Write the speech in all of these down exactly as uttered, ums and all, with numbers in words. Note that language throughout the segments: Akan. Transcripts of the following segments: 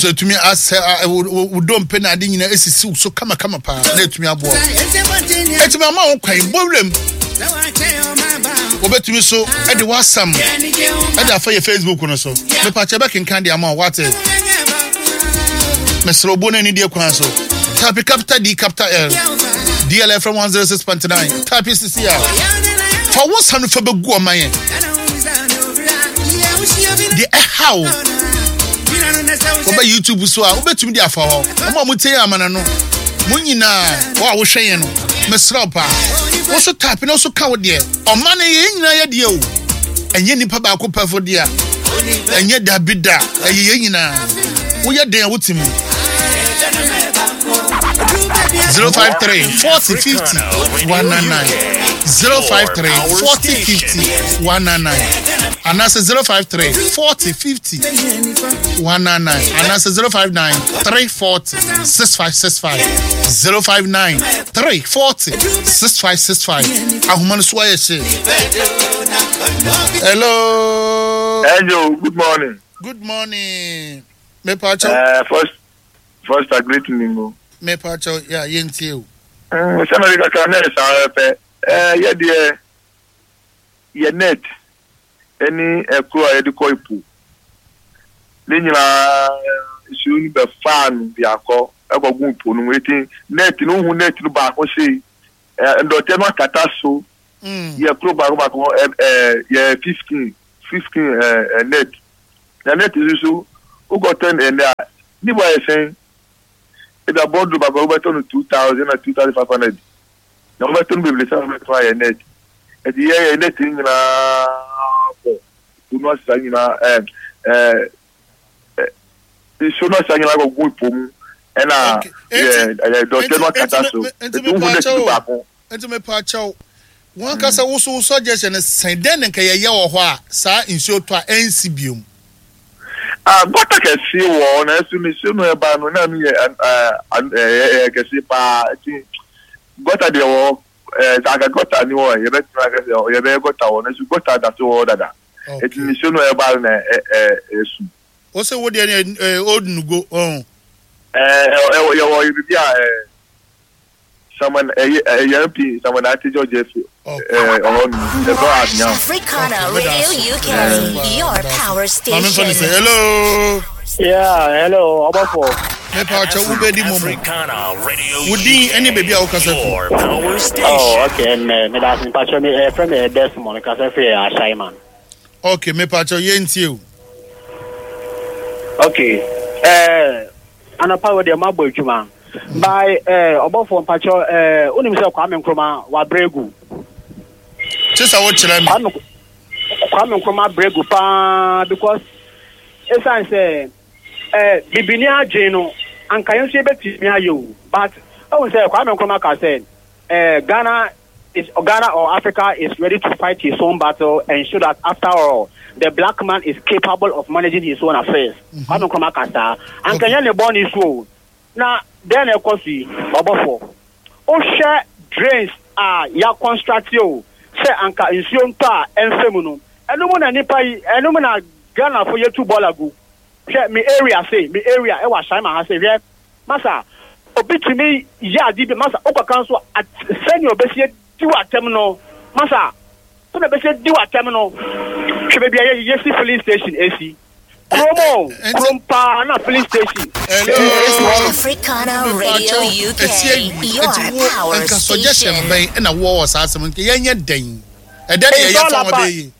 So etumi asɛ wo dompe na ade nyinaa esisi wo so kamakama paa na etumi aboa. Etumi ama wo kwan bɔ wuram. Wobɛtumi so ɛde w'asɛm ɛde afa yɛ Facebook no so. Mepakyɛ bɛkenkan de ama wo wate. Mesrɛ obuo no anidie kwan so. Type capital D capital L. D L F M one oh six point nine. Type sisi a. Fa wo nsa no fa bɛgu ɔman yɛn. Deɛ ɛha wo. Wɔbɛ YouTube so a wobɛtumi de afa hɔ. Ɔmo a motie yɛn amana no. Mo nyinaa wɔ a wohwɛ yɛn no. Mesrɛ wo paa. Wo so type na wo so ka wo deɛ. Ɔman no yɛn nyinaa yɛ deɛ o. Ɛnyɛ nipa baako pɛfo deɛ a. Ɛnyɛ dabi da. Ɛyɛ yɛn nyinaa. Woyɛ den a wote mu. zero five three forty fifty one nine nine, zero five three forty fifty one nine nine, anaasɛ zero five three forty fifty one nine nine, anaasɛ zero five nine three forty six five six five, zero five nine three forty six five six five. Ahoma no so ayɛ hye. Hello. Hello, good morning. Good morning, mepakyɛw. Uh, first, first, I greet you. Mepakyɛw, yɛ yɛntie o. Mm, sɛ mɛde kakra na ɛsan pɛ ɛɛ yɛ deɛ yɛ net ɛne ɛkoro a yɛde kɔ ipo ne nyinaa, nsuo no bɛfaa no biakɔ ɛkɔgu ipo no mu. Eti net no hu net no baako sei, ɛɛ ndɔteɛ no akata so. Mm. Yɛ koro baako baako ɛ ɛɛ yɛ fifteen fifteen ɛɛ ɛ net na net nso so wokɔtɔ no ɛnɛ a ne bo ayɛ sɛn? Ebi abɔduro baako wobɛtɔ no two thousand na two thousand five hundred, na wobɛtɔ no bebree sɛ wobɛtɔ ayɛ net. Ɛti yɛ yɛ net no nyinaa bɔ po no asesa nyinaa, ɛɛ ɛɛ ɛ nsuo no asesa nyinaa kɔgu po mu, ɛna Okay. yɛ ɛyɛ dɔteɛ no akata Enti- so. enti Eti wohu net no mepakyɛw. baako. Nti mepakyɛw, wɔn kasa woso suggestion sɛn dɛn ne nka yɛyɛ wɔ hɔ a saa nsuo tɔ a ɛnsi biom? Ah, gutter kɛseɛ wɔ hɔ, na ɛso no nsuo no ɛba no na no yɛ ɛ ɛ ɛyɛ kɛseɛ paa. Nti gutter deɛ wɔ hɔ, ɛɛ sɛ aka gutter ni hɔ a, yɛbɛtena aka sɛ yɛbɛyɛ gutter wɔ no, nso gutter da so wɔ hɔ dada. Eti nsuo no ɛba no na ɛ ɛ ɛsu. Wo sɛ wo deɛ ne ɛ Old Nugo ɔn? ɛɛ ɛwɔ yɛwɔ biribi a ɛɛ samuel ɛyɛ ɛyɛ M P Samuel Ati George efi ɛɛ ɔhɔ no ɛbɛ anya. Africana Okay, Radio that's- U K, your power Maame nfa ne sɛ station. Hello. Yeah, hello, ɔbɔfo. Mepakyɛw, wobɛdi momo. Africana Radio Wo din ne baabi a wokasa fi. Your power station. Oh, okay, me me da mpakyɛ me ɛfrɛ me Desmond, kasa firi Ashaiman. Okay, mepakyɛw, yɛntie o. Okay. Eh, anɔpa wo deɛ mabɔ adwuma. By eh ɔbɔfo, mpakyɛ eh wonim sɛ Kwame Nkrumah wabrɛ gu. Kye sɛ wokyerɛ me. Kwame Kwame Nkrumah abrɛ gu paa because ɛsiane sɛ eh bibini adwene no anka yɛn nso yɛbɛtumi ayɛ o, but ɛhu sɛ Kwame Nkrumah ka sɛ eh Ghana is Ghana or Africa is ready to fight his own battle and show that after all the black man is capable of managing his own affairs. Kwame Nkrumah ka saa anka nyɛ ne bɔne so o. Na dɛn na ɛkɔ so yi, ɔbɔfo? Wohwɛ drains a yɛa construct o sɛ anka nsuo ntɔ a ɛmfɛ mu no, ɛno mu na nipa yi, ɛno mu na Ghanafo yɛtu bɔɔla gu. Hwɛ me area sei, me area ɛwɔ Ahyɛnma ha sei, hwɛ masa, obi tumi yɛ ade bi masa, wokɔka nso a, sɛnea obɛsi di w'atɛm no masa, sɛnea obɛsi di w'atɛm no. Hwɛ baabi a yɛ- yɛsi filling station esi kurom o, Enti- kurom paa na filling station Hello. esi hɔ no. Africana Radio U K, your power Nka suggestion station. bɛn ɛna wowɔ wɔ saa asɛm nka yɛnyɛ dɛn ɛdɛn ne It's yɛyɛ all fa wɔn about- bɛyɛ?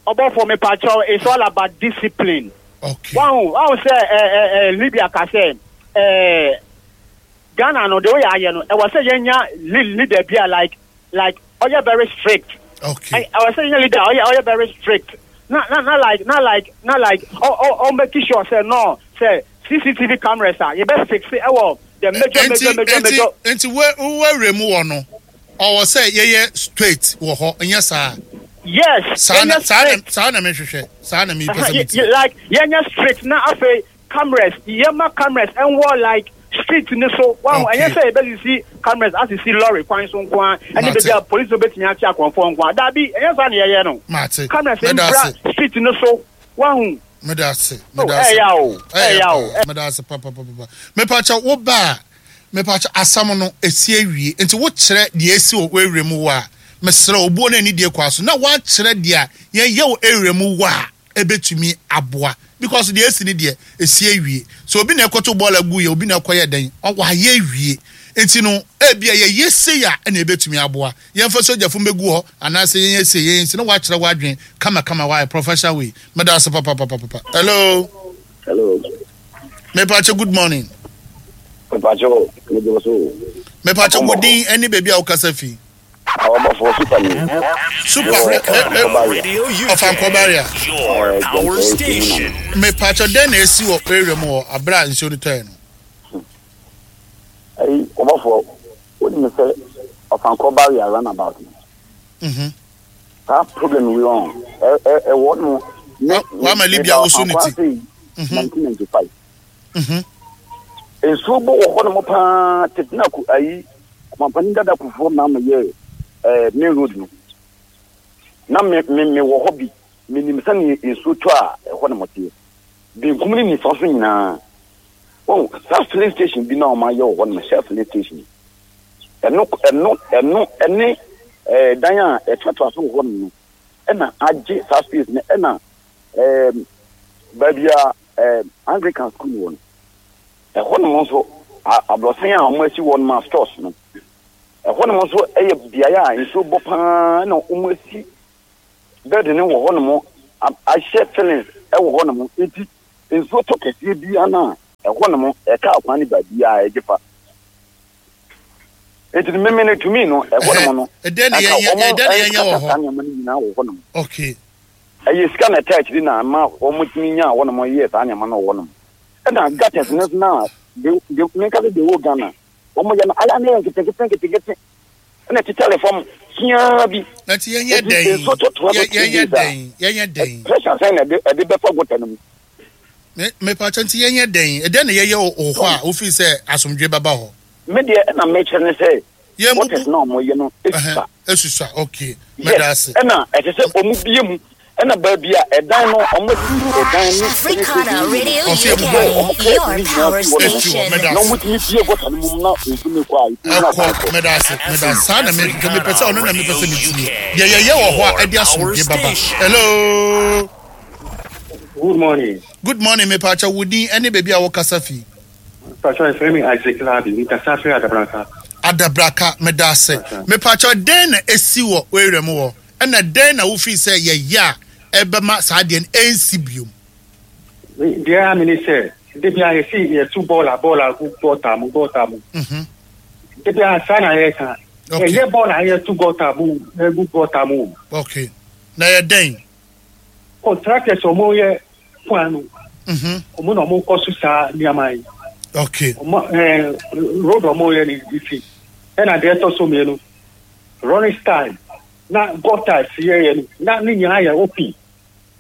Ɔbɔfo, mepakyɛw, it's all about discipline. Okay. Wahu wahu sɛ ɛ ɛ ɛ Libya ka sɛ ɛ Ghana no de oyɛ ayɛ no, ɛwɔ sɛ yɛnya li- leader bi a like like ɔyɛ very strict. Okay. Ɛ- ɛwɔ sɛ yɛnya leader a ɔyɛ ɔyɛ very strict na na na like na like na like ɔ ɔ ɔ make sure sɛ no sɛ C C T V cameras a yɛbɛ fix ɛwɔ the major major major nti major. Nti wo wawura mu wɔ no, ɔwɔ sɛ yɛyɛ straight wɔ hɔ, ɛnyɛ saa? Yes. Saa na yɛnyɛ saa na strict. Saa na mehwehwɛ, saa na mepɛ sɛ Ye- metie. ye- like yɛnyɛ strict na afei cameras, yɛma cameras ɛnwɔ like street ni so wahu. Okay. Ɛnyɛ sɛ yɛbɛsisi cameras asisi lorry kwan so nko a ɛne Mate. baabi a police no bɛtumi akye akɔnfoɔ nko a, daabi, ɛnyɛ saa ne yɛyɛ no. Mate. Cameras Mɛda mbra ase. street ni so wahu. Meda ase, meda ase. Ɛyà o, ɛyà o. Meda ase papapapa. Mepakyɛ wo ba a, mepakyɛ asɛm no esi awie. Nti wokyerɛ deɛ esi wɔ area mu wɔ a, mesrɛ obuo no ani deɛ kɔ aso. Na woakyerɛ deɛ a yɛyɛ wɔ area mu wɔ a, ebetumi aboa. Because deɛ esi ne deɛ esi awie. So obi na ɛkɔto bɔɔl agu yɛ, obi na ɛkɔyɛ dɛn, wayɛ awie. Nti no, ebi a yɛyɛ sei a ɛna ebetumi aboa. Yɛmfa sogyafo mbɛgu hɔ anaasɛ yɛnyɛ sei, yɛnyɛ sei na woakyerɛ w'adwene kamakama wayɛ professional way. Meda ase papapapapa. Hello. Hello. Mepakyɛ good morning. Mepakyɛ megye so. Mepakyɛ wo din ne baabi a wokasa fi. Awabɔfoɔ super ni. Super Ɔfankɔ Barrier. Your power station. Mepakyɛ dɛn na esi wɔ area mu hɔ abere a nsuo no tɔɛ no? Ayi ɔbɔfoɔ wonim sɛ Ɔfankɔ Barrier runabout no. Mhm. Saa problem wi wɔn ɛwɔ no. Wama Libya woso ne ti. Nineteen ninety five. Mhm. Nsuo bɔ wɔ hɔ nom paa tete na ko ayi ɔmampanin dada Kufuor na ama yɛ ɛɛ main road no. Na me me me wɔ hɔ bi menim sɛnea nsuo tɔ a ɛhɔ nom teɛ. Benkum ne nifa so nyinaa. Wɔn saa filling station bi na wɔn ayɛ wɔ hɔ nom Shell filling station. Ɛno ɛno ɛno ɛne ɛɛ dan a ɛtoatoa so wɔ hɔ nom no ɛna agye saa space no ɛna ɛɛm baabi a ɛɛ Anglican school wɔ no. Ɛhɔ nom nso aborɔsan a wɔn asi wɔ nom a stores no. Ɛhɔ nom nso ɛyɛ beaeɛ a nsuo bɔ paa na wɔn asi building no wɔ hɔ nom ahyɛ fillings ɛwɔ hɔ nom nti nsuo tɔ kɛseɛ biara na ɛhɔ nom ɛka akwan ne baabi a ɛgye fa. Nti mímí no tumi no ɛhɔ nom no. Ɛdɛn na yɛnyɛ ɛdɛn na yɛnyɛ wɔ hɔ? Saa nneɛma no nyinaa wɔ hɔ nom. Okay. Ɛyɛ sika na ɛta akyiri na ama wɔn tumi nya hɔ nom yɛ saa nneɛma no wɔ hɔ nom. Ɛna gutters no na de de menka sɛ de wɔ Ghana wɔn yɛ no ayɛ ne yɛ nketenkete nketenkete ɛna tetare fam siaa bi. Nti yɛnyɛ dɛn nsuo tɔtoa so yɛnyɛ dɛn yɛnyɛ dɛn. Pressure sɛn na ɛde ɛde bɛfa gutter no mu. Me mepakyɛ nti yɛnyɛ dɛn ɛdɛn na yɛyɛ wɔ hɔ a wofi sɛ asomdwe bɛba hɔ. Me deɛ ɛna mekyerɛ ne sɛ Yɛn gutters na wɔn yɛ no esusa. Esusa okay mɛda ase. Ɛna ɛsɛ sɛ wɔn bie mu ɛna baabi a ɛdan no wɔn asi ɛdan no Africana Radio Ɔsɛ U K, wɔn your kɛ power nyinaa station. Mɛda na ase. wɔn tumi bie gutter no mu na nsu no kɔ a nsu no Ɛkɔ akɔ. mɛda ase mɛda ase saa na me mepɛ sɛ ɔno na mepɛ sɛ metie deɛ yɛyɛ wɔ hɔ a ɛde asomdwe baba. Hello. Good morning. Good morning mepakyɛ wo din ɛne baabi a wokasa fi. Pastor, ɛfrɛ me Isaac Labi, mekasa firi Adabraka. Adabraka meda ase. Mepakyɛ dɛn na esi wɔ area mu hɔ ɛna dɛn na wofii sɛ yɛyɛ a ɛbɛma saa deɛ no ɛnsi biom. Deɛ a mene sɛ, de bia yɛsi yɛtu bɔɔla bɔɔla gu gɔta mu gɔta mu. Mhm. De bia saa na yɛka. Okay. Ɛyɛ bɔɔla a yɛtu gɔta mu egu gɔta mu. Okay. Na yɛ dɛn? Contractors ɔmo yɛ kwan no, Mhm. ɔmo na ɔmo kɔ so saa nneɛma yi. Okay. Ɔmo ɛɛ road ɔmo yɛ ne ti. Ɛna deɛ ɛtɔ so mmienu, running style na gutters yɛyɛ no na ne nyinaa yɛ open.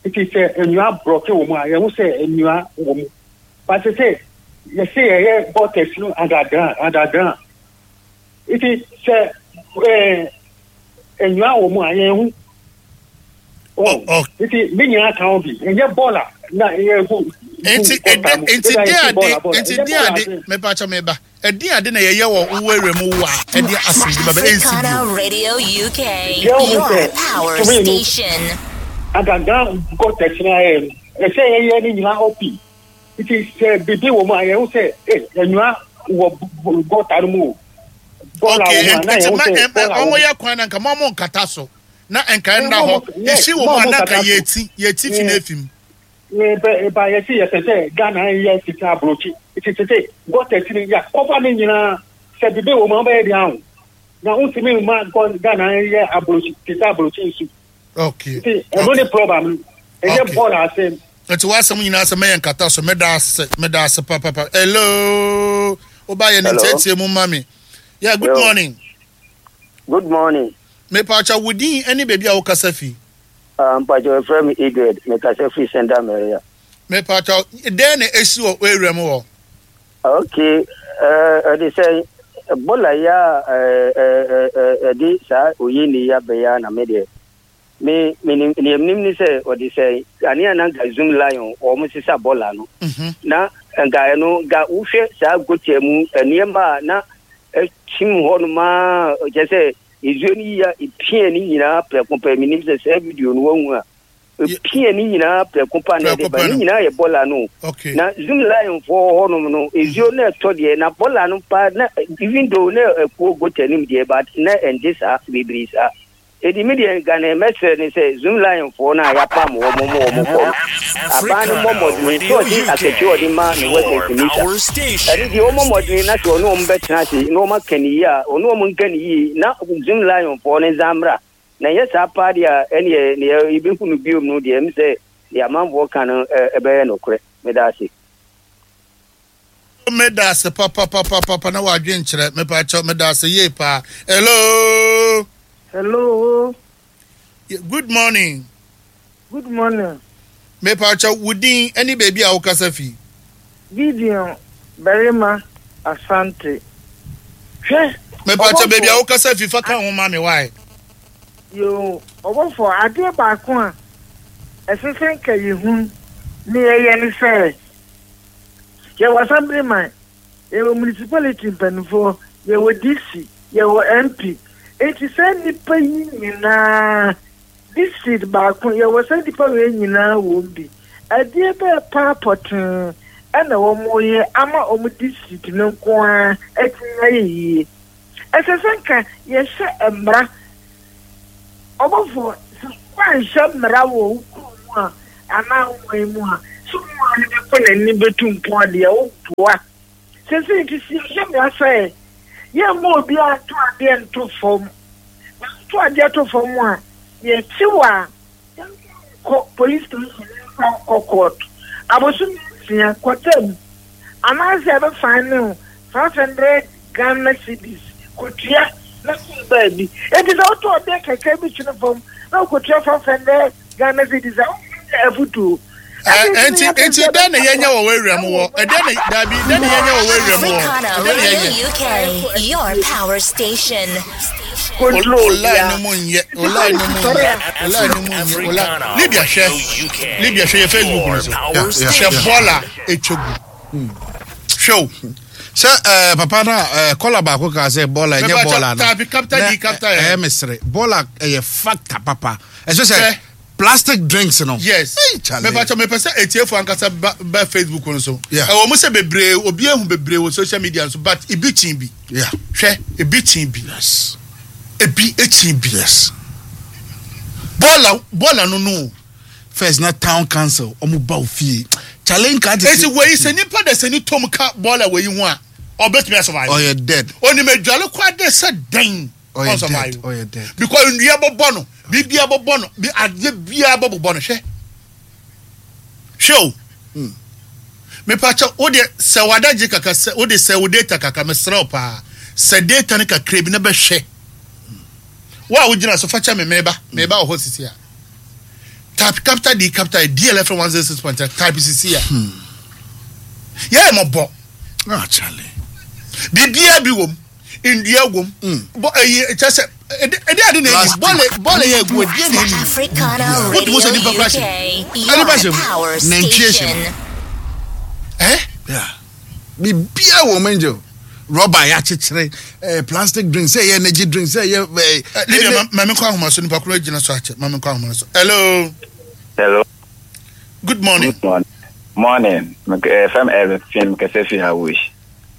Nti sɛ nnua brɔke wɔ mu a yɛho sɛ nnua wɔ mu. But sɛ yɛsɛ yɛyɛ gutters no underground underground. Nti sɛ ɛɛ nnua wɔ mu a yɛho. Oh, oh. Nti ne nyinaa ka ho bi. Ɛnyɛ bɔɔla na yɛ gu. Nti ɛdɛ nti de ade nti de ade mepakyɛ meba ɛde ade na yɛyɛ wɔ wo area mu wɔ a ɛde asomdwe baba ɛnsi Africana biom. Radio U K, Yeah, we your said, power to me, no. station. Underground gutters na yɛ no ɛsɛ yɛyɛ ne nyinaa open. Nti sɛ bibi wɔ mu a yɛho sɛ ɛ nnua wɔ gutter no mu o. Bɔɔla Okay wɔ mu a na nti yɛho ma sɛ ɛ- ɛ- bɔɔla wɔ ɔmo mu. yɛ kwan na nka mo ɔmo nkata so na nka ɛnda Eh, hɔ mo- mo- esi wɔ mu mo- a mo na nka nkata so. yɛti yɛti fi na Yeah. efi mu. Ebe eba yɛsi yɛpɛ sɛ Ghana yɛ sika aburokyi. Nti sɛ sɛ gutters no yɛ kɔfa ne nyinaa sɛ bibi wɔ mu a ɔbɛyɛ deɛ aho. Na ntumi mma gɔ- Ghana yɛ aburokyi sika aburokyi nsu. Okay. Nti ɛno ne problem no. Ɛnyɛ Okay. bɔɔla asɛm. Nti w'asɛm nyinaa sɛ mɛyɛ nkata so mɛda ase mɛda ase papapa. Hello. Woba yɛ ne Hello. ntiatia mu ma me. Yeah, good Yo. morning. Good morning. Mepakyɛ wo din ɛne baabi a wokasa fi. Uh, Mpacho ɛfrɛ me Edward, mekasa firi Senda Maria. Mepakyɛ dɛn na esi wɔ area mu hɔ? Okay, ɛde sɛ bɔɔla yi a ɛde saa oyi ne yi abɛyɛ na me deɛ Me me nim nim ni sɛ ɔde sɛ ane ananka Zoomlion wɔn sisa bɔɔla no. Na nka ɛno nka wohwɛ saa gotia mu nneɛma a na ɛkyim hɔ nom a kyerɛ sɛ nsuo no yi a epia ne nyinaa prɛko pɛ. Menim sɛ saa video no wahu a epia ne nyinaa prɛko pa na ɛde ba ne nyinaa yɛ bɔɔla no. Na Zoomlion foɔ hɔ nom no nsuo no ɛtɔ deɛ na bɔɔla no pa na even though na ɛkuo gotia nim deɛ, but na ɛnte saa bebree saa. Edi mi deɛ nka ne mɛsrɛ ne sɛ Zoomlion foɔ no a yɛapam wɔn mo wɔn kɔ no, aban no mmɔ mmɔden sɛ ɔde akatua ɔde ma ne workers mita ɛne deɛ ɔmmɔ mmɔden na sɛ ɔne wɔn bɛtena ase na wɔn aka ne yie a, ɔne wɔn nka ne yie na Zoomlion foɔ no nsa mmra. Na ɛnyɛ saa paa deɛ a, ɛneɛ neɛ yɛbɛhu no biom no deɛ, ɛm sɛ deɛ amanfoɔ ka no ɛbɛyɛ nokorɛ. Meda ase. Meda ase papapapapa na wadwe nkyerɛ. Mepa kyɛw, meda ase yie paa. Hello. Hello. Good morning. Good morning. Mepa kyɛw, wo din ɛne baabi a wokasa fi? Gideon Barima Asante. Hwɛ. Mepa kyɛw, baabi a wokasa fi, fa ka ho ma me wae. Yo, ɔbɔfo, adeɛ baako a ɛsɛ sɛ nka yɛhu ne yɛyɛ ne sɛ yɛwɔ assemblyman, yɛwɔ municipality mpanimfoɔ, yɛwɔ D C, yɛwɔ M P. Eti sɛ nnipa yi nyinaa district baako yɛwɔ sɛ nnipa wei nyinaa wɔ mu bi, ɛdeɛ bɛɛ paa pɔtee ɛna wɔn yɛ ama wɔn district no nko ara atumi ayɛ yie? Ɛsɛ sɛ nka yɛhyɛ mmara. Ɔbɔfo, sɛ wɔanhyɛ mmara wɔ wo kurom mu a anaa wo man mu a, so mu a no bɛkɔ n'ani bɛtu mpɔn deɛ woboa sɛsɛ. Nti sɛ yɛhyɛ mmara sɛ yɛmma obiara nto adeɛ nto fam, na nto adeɛ to fam a, yɛkyew a, kɔ police station, nfa kɔ court abosom nsia kɔtɛm, anaasɛ ɛbɛfan ne ho five hundred Ghana cedis kɔtua na kɔ baabi. Eti sɛ wotɔ ɔdeɛ kakra bi twene fam na wokɔtua five hundred Ghana cedis a, wofɛ afutuo. Nti nti dɛn na yɛnyɛ wɔ w'awura mu wɔ ɛdɛn na dabi dɛn na yɛnyɛ wɔ w'awura mu wɔ Africana ɛdɛn na Radio yɛnyɛ? U K, your power station. O line no mu nyɛ, o line no mu nyɛ, o line no mu nyɛ, o line. Libya, hwɛ Libya, hwɛ yɛ Facebook no so, hwɛ bɔɔla etwa gu, hwɛ o. Sɛ ɛɛ papa na ɛɛ kɔla baako kan sɛ bɔɔla ɛnyɛ Mepa bɔɔla no. Type capital D, capital L. Ɛyɛ mesere bɔɔla ɛyɛ factor papa ɛsɛ sɛ Sɛ- plastic drinks no. Yes. Hey, Charlie. Mepatwa, mepɛ sɛ etiefo ankasa ba ba Facebook no so. Yeah. Ɛwɔ mu sɛ bebree obi ehu bebree wɔ social media so, but ebi kyin bi. Yeah. Hwɛ, ebi kyin bi. Yes. Ebi ekyin bi. Yes. Bɔɔla bɔɔla no no. First na town council ɔmo ba o fie, Charlie, nka te. Esi wei sɛ nipa de sɛ ni tom ka bɔɔla wei ho a, ɔbɛtumi asurvive? Ɔyɛ dead. Onim adwale kɔ ade sɛ dɛn? Ɔyɛ ɔnsurvive. dead, ɔyɛ dead. Because nnua bɔbɔ no, biribiara bɔbɔ no, bi adeɛ biara bɔbɔ no. Hwɛ, hwɛ o. Mepakyɛ wo deɛ, sɛ wadagye kaka sɛ wode sɛ wo data kaka, mesrɛ wo paa, sɛ data no kakra bi na bɛhwɛ wo a wogyina so, fa kyɛ me. Meba, meba wɔ hɔ sisi a, type capital D capital D L F one zero six point three, type sisi a yɛyɛ mɔbɔ. Ah, Charlie. Biribiara bi wɔ mu, ndua wɔ mu, bɔ ɛyi kyɛ sɛ ɛde ɛde ade na ɛni bɔɔlɛ bɔɔlɛ yɛ egu ɛdeɛ na ɛni. Africana What Radio was the nipa U K, question? your Nipa power nantwie hyɛ station. mu. Ɛ. Yeah. Biribiara wɔ mu, angel rɔba yɛakyekyere ɛɛ plastic drink, sɛ ɛyɛ energy drink, sɛ ɛyɛ ɛɛ. Libya, ma maame kɔ ahoma so, nipa koro gyina so akyɛ, maame kɔ ahoma so. Hello. Hello. Good morning. Good morning. Morning. Fam Elvin kɛsɛ fi Awosh.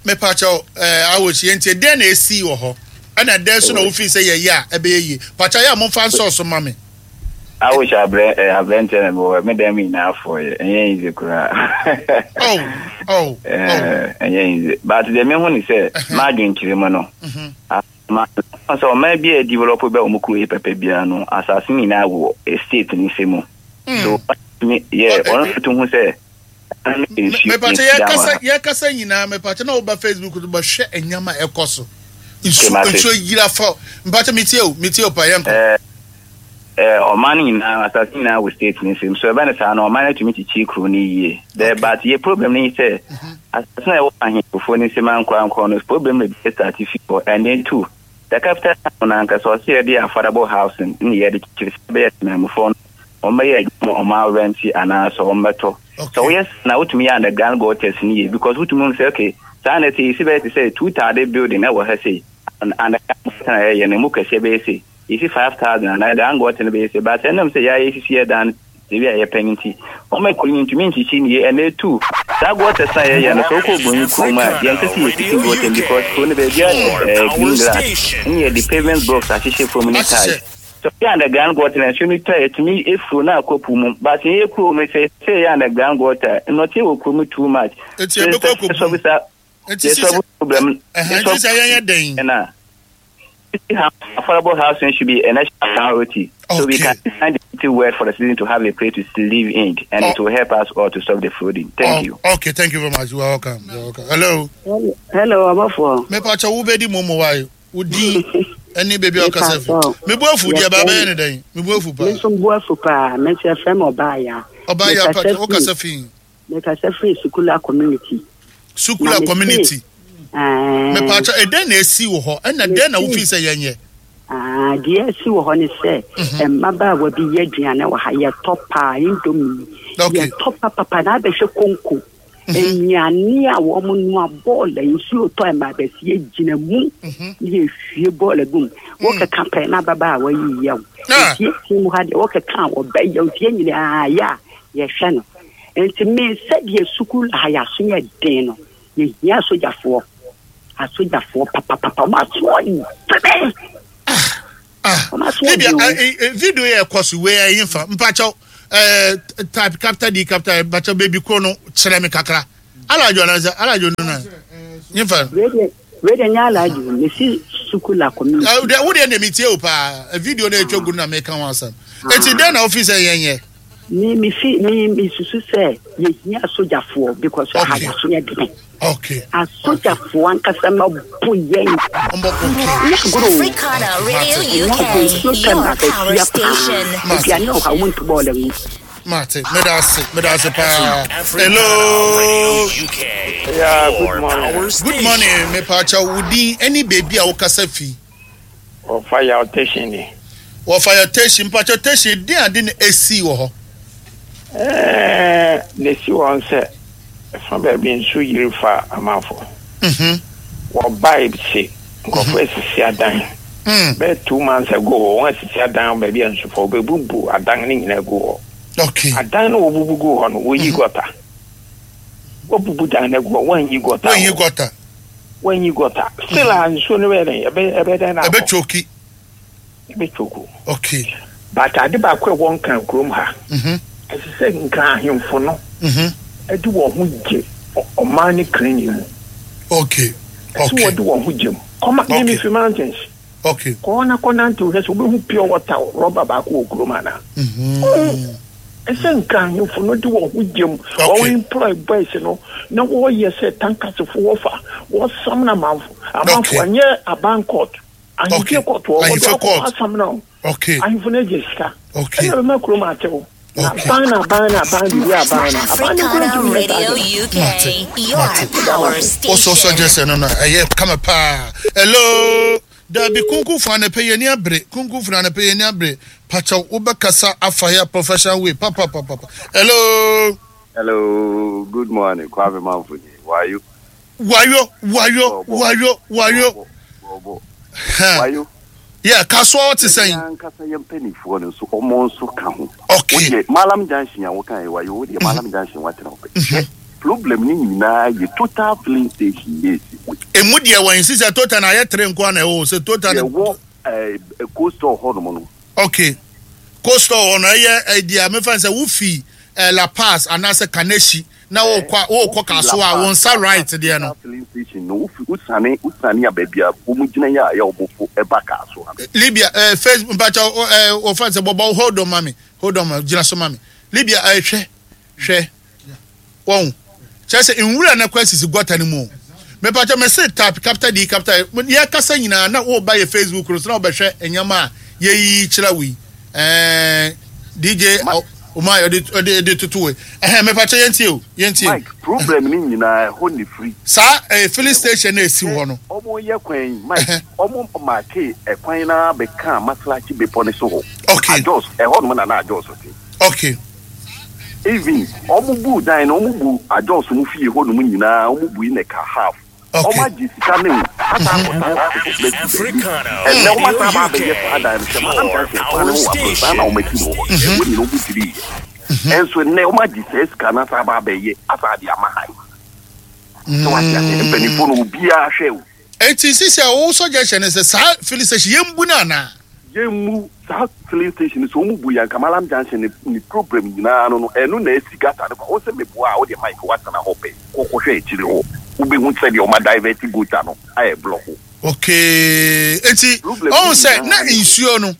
Mepa kyɛw, ɛɛ Awosh, yɛn ti dɛn na esi wɔ hɔ, ɛna dɛn so na wofin sɛ yɛyɛ a ɛbɛyɛ yie? Pakyɛ yɛ a momfa nsɔɔso ma me. Awosh abrɛ ɛ abrɛnkyɛn na mewɔ me dan mu nyinaa afɔ yɛ, ɛnyɛ easy koraa. Oh oh. Ɛɛ ɛnyɛ easy. But deɛ mehu ni sɛ m'adwenkyerɛ mu no. Ma sɛ ɔman bi a develop bɛ wɔn kuro yi pɛpɛ biara no, asase nyinaa wɔ state ne nsam. So yɛ ɔno to ho sɛ Mepakyɛ, yɛkasa yɛkasa nyinaa, mepakyɛ, na woba Facebook no, bɛhwɛ ɛnyama a ɛkɔ so, nsuo nsuo yira fa. Mepakyɛ, metie o, metie o pa, yɛnkɔ. Ɔman no nyinaa, asase nyinaa wɔ state ne nsam, so ɛbɛn ne saa no, ɔman no tumi kyikyi kuro no yie dɛ, but yɛ problem no yi sɛ asase na ɛwɔ ahemfofoɔ ne nsam ankorankoro no, problem no bi start fi hɔ. And then two, The capital town na ankasa ɔsɛ yɛde affordable housing ne yɛde kyekyere sɛ bɛyɛ temamufoɔ no wɔmmɛyɛ adwuma ɔma rent anaasɛ wɔmmɛtɔ. Sɛ woyɛ na wotumi yɛ underground gutters ne yie because wotumi hu sɛ okay saa na ɛte yɛsi bɛyɛ te sɛ two thousand building ɛwɔ ha sei underground gutter na yɛyɛ no emu kɛseɛ bɛyɛ sei yɛsi five thousand underground gutter no bɛyɛ sei but ɛnam sɛ yɛayɛ sisi yɛ dan ebi a yɛpɛ no nti wɔn akuro no ntumi nkyikyi nie ɛna etu saa gutters na yɛyɛ no sɛ wokɔ Obonyi kurom a yɛn sɛ yɛsisi gutter because kuro no baabi a ɛɛ green grass ɛne yɛde pavement blocks ahyehyɛ fam ne tiles so yɛ underground gutter na nsuo no tɔ a yɛtumi efuro na akɔ po mu but yɛn kurom no sɛ sɛ yɛ underground gutter nnɔteɛ wɔ kurom too much Eti ɛbɛkɔ akɔ sɛ sɛ Eti sisi problem ɛhɛn ti sɛ yɛnyɛ dɛn. ɛna affordable housing should be a national priority. Okay. So we can design the city well for the citizen to have a place to live in, and Oh. it will help us all to stop the flooding. Thank oh, you. Okay, thank you very much. You are welcome. You are welcome. Hello. Hello, abɔfoɔ. Mepa kyɛ wo bɛdi mo mo wa wo din ɛne baabi a ɔkasa fi. Mebu afu deɛ ba bɛyɛ ne dɛn? Mebu afu paa. Me nso bu afu paa. Me nso yɛfrɛ me Ɔbaaya. Ɔbaaya Mekasa pa wo firi- kasa fi. Mekasa firi Sukula community. Sukula Na me community. se- Ɛɛ, Mepa kyɛ ɛdɛn na esi wɔ hɔ? Ɛna dɛn na wofi sɛ yɛnyɛ? ah, deɛ asi wɔ hɔ ne sɛ mmabaawa bi yɛ aduane wɔ ha yɛtɔ paa indomie Okay. yɛtɔ papapa na abɛhwɛ konko nnuane a wɔn noa bɔɔla nsuo tɔ ɛma abɛsi gyina mu ne yɛhwie bɔɔla gu mu wɔkeka pɛ na ababaawa yi yɛ wo Ah. nti yɛsi mu ha deɛ wɔkeka a wɔbɛyɛ nti yɛn nyinaa yɛ a yɛhwɛ no nti me sɛdeɛ sukuu ha yɛaso yɛ den no yɛhia asogyafoɔ asogyafoɔ papapapa wɔn aso ɔdene wɔn aso Libya ɔden o. eh, eh, video yɛ ɛkɔ so wei ɛyi nfa mpakyɛw ɛɛ type capital D capital E mpakyɛw baby kuro no kyerɛ mi kakra alajo anasa alajo no na nfa. wei deɛ nyɛ alajo mesi sukula community. Ɛ, deɛ- wo deɛ na mi tie o paa Eh, video na etwa gu no na mi ka ho asɛm eti dɛn na ofi sɛ yɛn yɛ. me me fi me me susu sɛ yɛhia asogyafoɔ because ha yɛaso yɛ dene okay asogyafoɔ ankasa ma bo yɛn nyɛ agorɔ o. Africana Radio Nyɛ U K, agorɔ, nsuo tɔ your ma power bɛsia station. paa aduane wɔ hɔ a wontu bɔɔla mu Mate, meda ase, meda ase paa. Hello. Yeah, good morning. Good morning, mepakyɛw wo din ɛne baabi a wokasa fi. Wɔfa yaw station ni. Wɔfa yaw station, mpakyɛw station din ade na esi wɔ hɔ. Ɛɛ na esi wɔn sɛ ɛfa baabi nsu yiri fa amanfo. Mhm. Wɔbae se nkurɔfo asisi adan. Bɛyɛ two months ago wɔn asisi adan baabi a nsu fa wɔbɛbubu adan ne nyinaa gu hɔ. Okay. Adan no wɔbubu gu hɔ no wɔyi gɔta. Wɔbubu dan no agu hɔ wɔnyi gɔta. Wɔnyi gɔta. Wɔnyi gɔta. Still a nsuo no bɛyɛ dɛn ɛbɛ ɛbɛ dɛn na akɔ. Ɛbɛtwoki. Ɛbɛtwoku. Okay. But ade baako a ɛwɔ Nkran kurom ha. Mhm. Ɛsɛ sɛ Nkran ahemfo no Mhm. ɛde wɔn ho gye ɔ- ɔman ne cleaning mu. Okay. Ɛsɛ wɔde wɔn ho gye mu. Kɔma Okay. ne mi fi mountains. Okay. Kɔɔ na kɔ nante hwɛ sɛ wobɛhu pure water rɔba baako wɔ kurom ana. Mhm. Ɛsɛ Nkran ahemfo no de wɔn ho gye mu. Wɔn employ boys no na wɔyɛ sɛ tankasefo wɔfa wɔsam na amanfo. Amanfo ɛnyɛ aban court. Ahemfie court wɔ wɔde Ahemfie akɔ court. asam na o. Okay. Ahemfo no agye sika. Okay. Ɛna bɛma kurom atew. Na aban na aban na aban biribi aban na aban no kura Africana ntumi nyɛ saa Radio ade no. U K, your power Wosɔ station. sɔ gyesɛ no no ɛyɛ kama paa. Hello. Dabi kunku fún anapɛ yɛ ni abere kunku fún anapɛ yɛ ni abere pakyɛw wobɛkasa afa yɛ professional way papapapapa. Hello. Hello, good morning, Kwame Manfuni. Why you? Wayo wayo wayo wayo. Wayo. Yeah, kasoa ɔte sɛn. Yɛn ankasa yɛn mpanimfoɔ no nso ɔmo nso ka ho. Okay. Wodeɛ Malam Junction a woka yɛ wayo wodeɛ Malam Junction watena hɔ pɛ. Hwɛ, problem ne nyinaa yɛ total filling station yɛ esi hɔ. Emu deɛ wɔn sisi total na ayɛ tere nko na ɛwɔ sɛ total. Yɛwɔ ɛɛ coastal hɔ nom no. Okay. Coastal hɔ no ɛyɛ ɛdi a mefa sɛ wofi ɛ La Paz anaasɛ Kaneshi na wɔkɔ wɔkɔ kasoa a wɔn nsa right deɛ no. Total filling station no wofi wosane wosane a baabi a wɔn gyina yɛ a yɛ wɔn fo ɛba Kasoa no. Libya ɛɛ Facebook mpakyɛ ɛɛ wɔfa sɛ bɔbɔ hold on mami hold on ma gyina so mami Libya ɛɛ hwɛ hwɛ wɔn kyerɛ sɛ nwura na kɔ asisi gɔta no mu o mepakyɛ mɛ se tap capital D capital E yɛ kasa nyinaa na wɔba yɛ Facebook no so na wɔbɛhwɛ nneɛma a yɛyi kyerɛ wo yi ɛɛ D J ɔ ɔmo ayɛ ɔde ɔde de toto wei ɛhɛn mepakyɛ yɛn tie o yɛn tie o. Mike problem ni nyinaa ɛhɔ ne firi. Saa ɛɛ filling station na esi hɔ no. Ɔmo yɛ kwan yi Mike ɔmo maake ɛkwan na bɛka Maslachi bepɔ ne so hɔ. Okay. Ajos ɛhɔ nom na na Ajos te. Okay. Even ɔmo bu dan no ɔmo bu Ajos mu fie hɔ nom nyinaa ɔmo bu yi na ɛka half. Ɔmo agye sika ne wo asa akɔsa asase foforɔ asi baabi. Ɛnɛ ɔmo asan aba abɛyɛ saa dan no hwɛ Malam Junction kwan no ho wɔ aborosan na ɔmo asi no wɔ hɔ no ɛhɔ nyinaa ɔmo dwirii yɛ. Ɛnso nnɛ ɔmo agye saa sika no asan aba abɛyɛ asan de ama ha yi. Sɛ wate ase mpanimfoɔ no obiara hwɛ o. Eti sisi a wo suggestion ne sɛ saa filling station yɛn bu no anaa? Yɛn mu saa filling station no sɛ ɔmo bu yɛ anka Malam Junction ne ne problem nyinaa no no ɛno na asi gutter no kwa wo sɛ meboa a wodeɛ Mike woatena hɔ pɛ kɔ kɔhwɛ akyire hɔ wobɛhu sɛdeɛ ɔmo adivert gutter no ayɛ block. Okay eti Problem ɔhu sɛ nyinaa na ne hɔ. nsuo no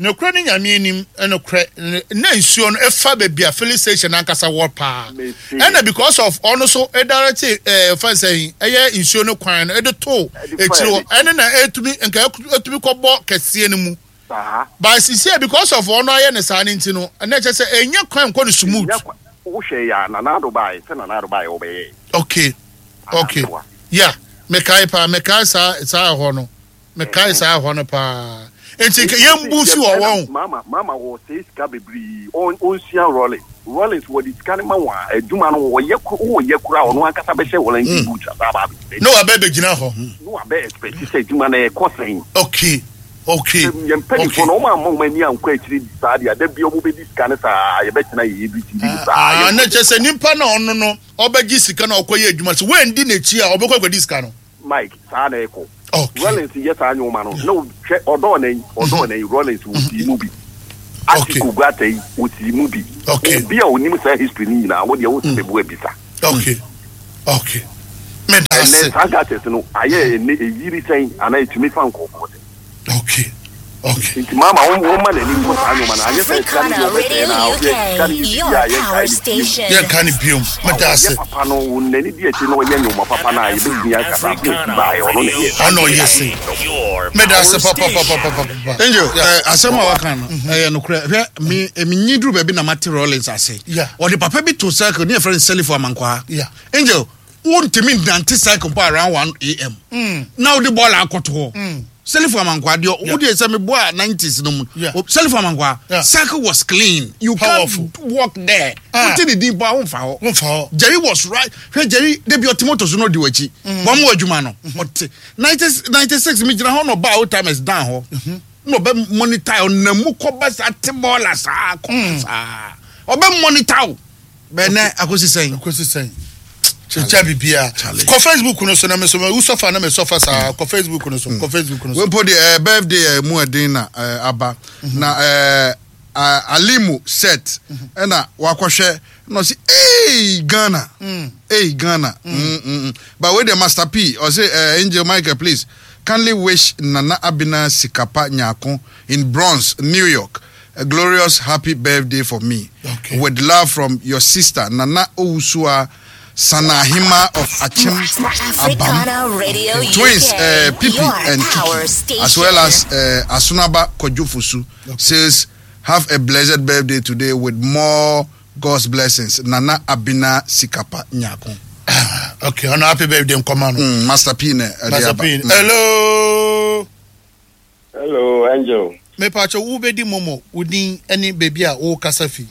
nokorɛ ne Nyame anim nokorɛ na nsuo no ɛfa baabi a filling station ankasa wɔ paa ɛna because of ɔno so ɛdirect ɛɛ fɛn sɛ ɛyɛ nsuo no kwan no ɛde to akyire hɔ ɛne na ɛtumi nka ɛtumi kɔbɔ kɛseɛ no mu Saa. but sisi because of ɔno ayɛ ne saa ne nti no ɛna ɛkyɛ sɛ ɛnyɛ kwan nkɔ no smooth. Ɛnya kwan wohwɛ yɛ a Nana Addo baeɛ sɛ Nana Addo baeɛ ɔbɛyɛɛ. Okay okay yeah mekae paa mekae saa saa ɛhɔ no mekae saa ɛhɔ no paa nti yɛn bu fi wɔ wɔn. Mama mama wɔ sɛ sika bebree ɔn ɔnsua Rawlings Rawlings wɔde sika no ma wɔn a adwuma no wɔyɛ wɔyɛ kora ɔno ankasa bɛhyɛ Wellington boot asa aba abɛgyina. Ne wabɛ bɛgyina hɔ. Ne wabɛ expect sɛ adwuma no ɛkɔ sɛn. Okay okay. Yɛn mpanyinfoɔ no wɔn amma wɔn ani ankɔ akyire saa deɛ ada bi wɔn bɛdi sika no saa yɛbɛtena yɛ A B C D saa. Ah na kyerɛ sɛ nipa na ɔno no ɔbɛgye sika na ɔkɔyɛ adwuma sɛ wɔndi n'akyi a ɔbɛkɔ akɔdi sika no. Mike saa na ɛkɔ. Rawlings yɛ saa nneɛma no na hwɛ ɔdɔɔ na yi ɔdɔɔ na yi Rawlings wɔ sii mu bi. Atiku Guata yi wɔ sii mu bi. Obi a onim saa history ni nyinaa wo deɛ wo sɛ bu abisa. Okay okay. Medase. Ɛnɛ saa gutters no ayɛ ɛnɛ eyiri sɛn anaa etumi fa nkɔfoɔ sɛn. Okay okay. Nti maama wɔn wɔn ma n'ani nkɔ saa nneɛma no anyɛ sɛ sika no deɛ ɔbɛsɛɛ na ɔbɛ sika no yɛ bibi a yɛnkae ne biom. Yɛnkae ne biom. Medase. Ɔyɛ papa no wɔn n'ani di akyire na ɔyɛ nneɛma papa no a yɛbɛtumi aka saa afei esi baeɛ ɔno na ɛyɛ. Ɔno ɔyɛ se. Medase papapapapapa. Angel ɛ asɛm a waka no ɛyɛ nokorɛ hwɛ me menyi duru baabi na mate Rawlings ase. Ɔde papa bi to circle ne yɛfrɛ no Selifo Amankwaa. Angel wontumi nnante cycle mpo around one a m. Na wode bɔɔla akɔto hɔ. Selifo Amankwaa deɛ wo deɛ sɛ meboa nineties no mu. Selifo Amankwaa circle was clean. You can't walk there. Wote ne din mpo a womfa hɔ. Womfa hɔ. Jerry was right. Hwɛ Jerry de bi ɔte moto so na ɔdi w'akyi. Wɔn mo adwuma no. Ɔte ninety six mi gyina hɔ na ɔbaa old timers dan hɔ. Na ɔbɛ monitor ɔnam mu kɔba saa te bɔɔla saa kɔba saa. Ɔbɛ monitor wo. Bɛnɛ akosi sɛn. Akosi sɛn. Kyekya bibia. Kɔ Facebook no so na me so me sɔfa na me sɔfa saa. Kɔ Facebook no so. Kɔ Facebook no so. Wempo de eh, birthday eh, mu ɛden na eh, aba. Na eh, Alimu set ɛna wakɔhwɛ na ɔsi ee Ghana ee Ghana mm. Mm, mm. But wei de Master P ɔsi eh, Angel Michael please kindly wish Nana Abina Sikapa Nyako in Bronx, New York a glorious happy birthday for me. Okay. With love from your sister Nana Owusua Sanahima of Achim Abam, Radio twins U K, uh, Pipi your and power Kiki, station. as well as uh, Asunaba Kojofusu, okay. says, have a blessed birthday today with more God's blessings. Nana Abina Sikapa Nyako. Okay, on happy birthday, Nkomano. Mm, Master P. Ne, Master P. Mm. Hello. Hello, Angel. Me pacho ubedi momo udin any baby a o kasafi.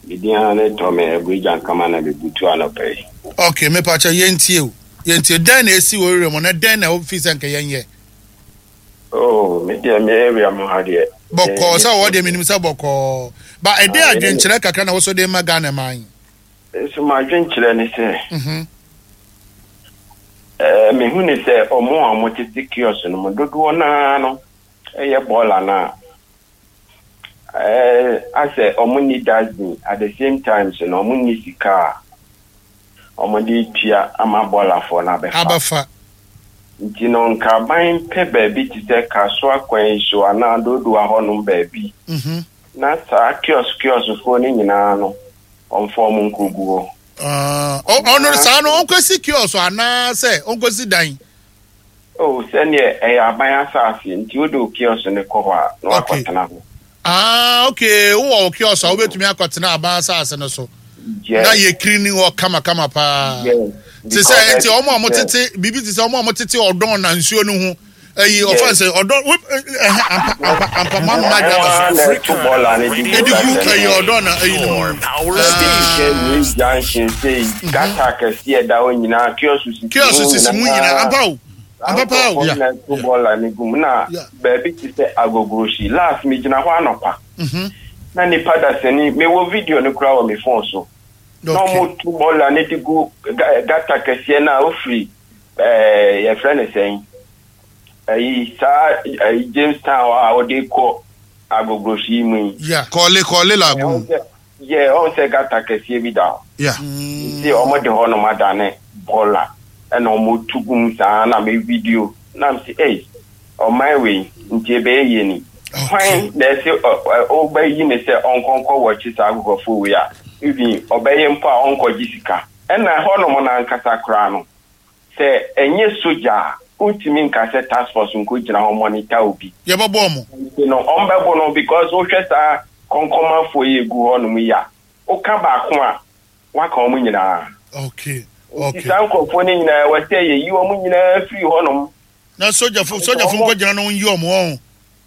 Bidia ne tome ebuja nkama na bebutu anope. Okay, me pacho yentie o. Yentie den na esi wo area mo na den na office nka yenye. Oh, me dey me area mo ha de. Boko sa wo de minim sa boko. Ba e dey adwenkyere kakra na wo so de ma Ghana man. So ma adwenkyere ne se. Mhm. Eh me hu ne se omo a mo tete kiosk no mo dodo na no. Eye bola na. Eh ase omo ni dustbin at the same time so no omo ni sika. Omo de tia ama bola for na befa. Abafa. Nti no nka ban pe baabi te sɛ kaso akwan so ana dodo ahɔ baabi. Mhm. Na saa kiosk kiosk fo ne nyinaa no ɔmfɔ mu nkogu hɔ. Ah, ono saa no onkosi kiosk ana sɛ onkosi dan. Oh, sɛ ne ɛyɛ aban asase nti wo do kiosk ne kɔ hɔ a na wakɔtena hɔ. Ah, okay. Wowɔ wo kiosk a wobɛtumi akɔtena aban asase no so. Yes. Na yɛ clean hɔ kamakama paa. Yes. Te sɛ nti ɔmo a wɔtete biribi te sɛ ɔmo a wɔtete ɔdɔn na nsuo no ho ɛyi ɔfa sɛ ɔdɔn wo ɛhɛ ampa ampa ampa mo ama adwa ba so. Ɛto bɔɔla ne di edi gu ɛyi ɔdɔn na ɛyi ne mu. Sɛ junction sɛ gata kɛseɛ da hɔ nyinaa kiosk sisi kiosk sisi mu nyinaa ampa o ampa paa o. Na ɛto bɔɔla ne gu mu na baabi te sɛ agogorosi last mi gyina hɔ anɔpa na nipa dasani mewɔ video no koraa wɔ mi phone so. Na ɔmo tu bɔɔla ne de gu gata kɛseɛ na ofiri ɛɛ yɛfrɛ ne sɛn ɛyi saa ɛyi Jamestown a ɔde kɔ agogorosi mu yi. Kɔɔle kɔɔle lagoon. Yɛ ɔn sɛ gata kɛseɛ bi da hɔ. Nti ɔmo de hɔ nom adane bɔɔla ɛna ɔmo tu gu mu saa na me video na m si ɛyi ɔman wei nti ebɛyɛ yie ni. Kwan na ɛsɛ ɔbɛyi ne sɛ ɔnkɔnkɔ wɔkye saa agogɔfo wei a. Even ɔbɛyɛ mpo a ɔnkɔgye sika ɛna hɔnom nankasa koraa no sɛ ɛnyɛ sogya a wontumi nka sɛ task force nkɔgyina hɔ monitor obi. Yɛbɛbɔ ɔmo. Nti no ɔmbɛbɔ no because wohwɛ saa kɔnkɔnmafoɔ yi egu hɔnom yi a woka baako a waka ɔmo nyinaa. Okay. Okay. Nti saa nkurɔfoɔ no nyinaa wɔ sɛ yɛyi ɔmo nyinaa firi hɔnom. Na sogyafo sogyafo nkɔgyina no nyi ɔmo ɔho.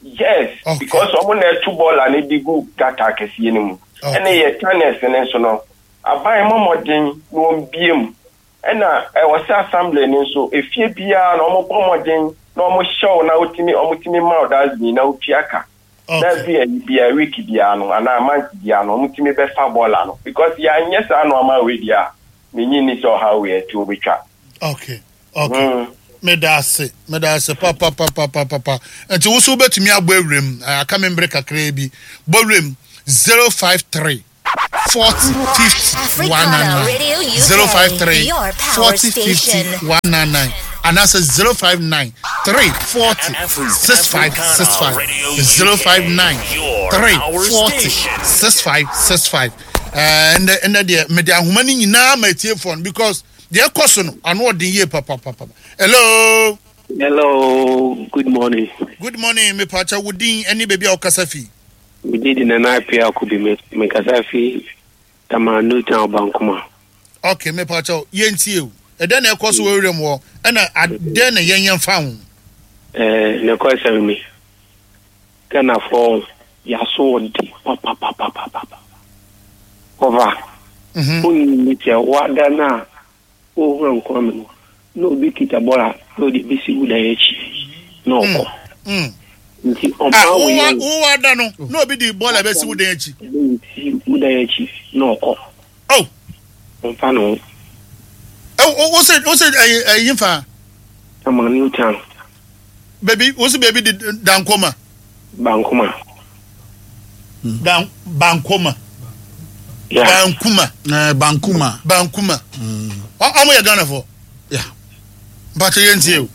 Yes, okay. Because ɔmo na ɛto bɔɔla no de gu gata akɛseɛ no mu. Ɛna yɛ tunnels ne nso no aban mmɔmɔden na wɔn bie mu ɛna ɛwɔ sɛ assembly ne nso efie biara na wɔn bɔ mmɔden na wɔn hyɛw na wotumi wɔn tumi ma ɔdasbin na wotua ka na ebi ɛyi bia week biara no anaa month biara no wɔn tumi bɛfa bɔɔla no because yɛanyɛ saa nneɛma wei deɛ a menyi ni sɛ ɔha wei ɛtu obetwa. Okay, okay. Mm. Meda ase, meda ase papapapapapa. Nti wo so wobɛtumi abɔ awuram, aka me mbere kakraa bi. Bɔ awuram zero five three forty fifty one nine nine zero five three forty fifty one nine nine anaasɛ zero five nine three forty six five six five zero five nine three forty six five six five. Ɛnɛ ɛnɛ deɛ mede ahoma no nyinaa ma atiefoɔ no because deɛ ɛkɔ so no ano ɔden yie papapapa. Hello. Hello, good morning. Good morning, mepacha wo din ɛne baabi a wokasa fi. Me din de Nana Appiah Akubi, me mekasa fi Tama New Town Bankoma. Okay, mepacha yɛntie o. Ɛdɛn na ɛkɔ so wɔ wuram hɔ ɛna adɛn na yɛn yɛn fa ho? Ɛɛ, ne kɔ sɛm ni. Ghanafoɔ yɛaso ɔde papapapapapa. Ɔva. Wonni sɛ wada no a wohura nkɔm no na obi kita bɔla na ɔde bɛsi wo dan akyi na ɔkɔ. Nti ɔma wo yɛ wo wada no na obi de bɔla bɛsi wo dan akyi. Bɛsi wo dan akyi na ɔkɔ. Oh. Ɔmfa ne ho. Wo sɛ wo sɛ ɛyi ɛyi nfa. Tama New Town. Baby wo sɛ baby de Dankoma. Bankoma. Dan Bankoma. Yeah. Bankuma. Eh, Bankuma. Bankuma. Ɔmo yɛ Ghana fo. Yeah. Mpakyɛ yɛn tie o.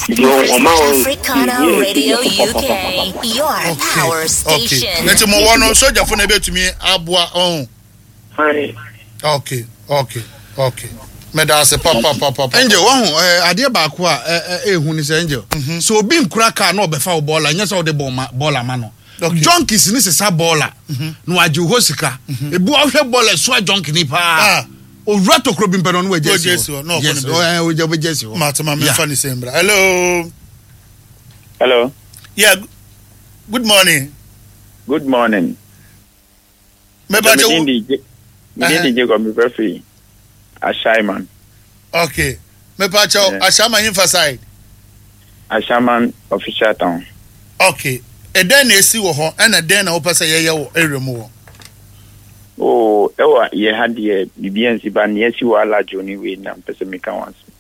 Africana Radio U K, your power station. Okay. Nti mo wɔ no sogyafo na ebetumi aboa ɔn. Okay, okay, okay. Meda ase papapapa. Angel, wahu eh, adeɛ baako a ehu ni sɛ Angel. So obi nkura kaa na ɔbɛfa wo bɔɔla nyɛ sɛ ɔde bɔɔla ma no. Junkies ni sesa bɔɔla na wagye hɔ sika. Ebi wahwɛ bɔɔla soa junkie ni paa. Owura tokuro bi mpɛ no ɔno wagye si hɔ. Yes, ɔgye ɔbɛgye si hɔ. Mate ma mefa ne sɛ mbra. Hello. Hello. Yeah, good morning. Good morning. Meba kyɛ wo. Me din Jacob me frɛ Ashaiman. Okay. Mepa kyɛw Ashaiman himfa side. Ashaiman official town. Okay. Ɛdɛn na esi wɔ hɔ ɛna dɛn na wopɛ sɛ yɛyɛ wɔ area mu hɔ? Oh, ɛwɔ yɛ ha deɛ biribi ansi ba nea esi wɔ Alajo ne wei na mpɛ sɛ meka ho asɛm.